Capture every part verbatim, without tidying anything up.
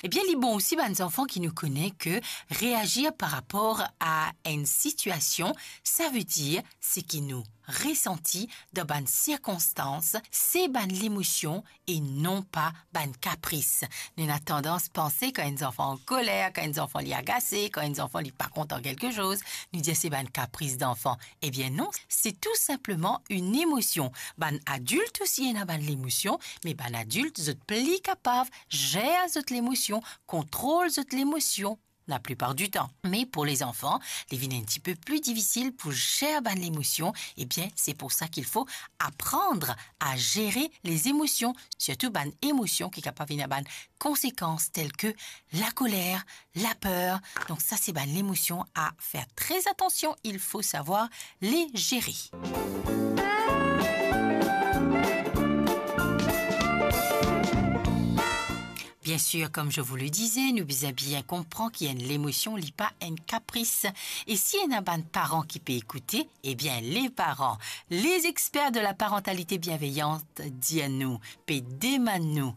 Ebien, li bon osi bann zanfan ki nou kone ke reazir par rapor a enn sitiasion, savedir seki nou resanti dan bann sirkonstans, se bann lemosion e non pa bann kapris. Nou ena tandans panse kan enn zanfan ankoler, kan enn zanfan li agase, kan enn zanfan li pa kontan kelke soz, nou dir se bann kapris danfan. Ebien non, se tou sinpleman enn emosion. Bann adilt osi ena bann lemosion, me bann adilt, zot pli kapav zer zot lemosion, kontrol zot lemosion, laplipar ditan. Me pou lezanfan, li vinn enn tipe pli difisil pou zer bann lemosion. Ebien, se pou sa ki fo aprann a zere lezemosion, sirtou bann emosion ki kapav ena bann konsekans tel ke lakoler, laper. Donk sa, se bann lemosion a fer tre atansion, il faut savoir les gérer. Bien sûr, comme je vous le disais, nou bizin bien konpran ki enn lemosion, li pa enn kapris. E si ena bann paran ki pe ekoute, ebien, les parents, les experts de la parentalité bienveillante dir nou, pe demann nou,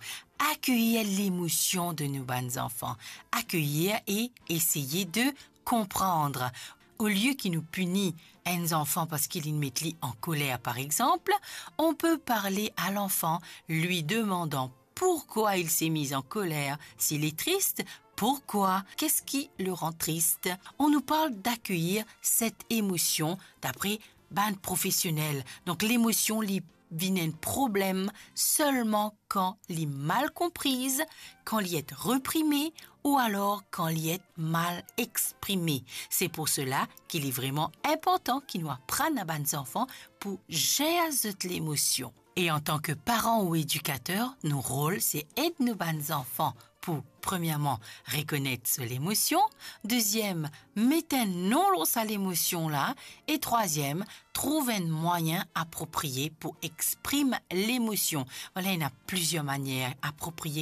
akeir lemosion de nou bann zanfan, akeir e eseye de konpran. Olie ki nou pini enn zanfan parski li met li ankoler, par exemple, on peut parler à l'enfant, lui demandant pourquoi il s'est mis en colère s'il est triste, pourquoi, qu'est-ce qui le rend triste. On nous parle d'accueillir cette émotion d'après bann profesionel. Donk, lemosion, li vinn enn problem selman kan li mal konpriz, kan li et reprime, ou alor kan li et mal exprime. Se pou sela ki li vreman inportan ki nou aprann a bann zanfan pou zer zot lemosion. E antan ke paran ou edikater, nou rol se ed nou bann zanfan pou, premierman, rekonet so lemosion, deziem, met enn non lor sa lemosion la, e trwaziem, trouv enn mwayin apropriye pou exprim lemosion. Vwala, ena plizier manier apropriye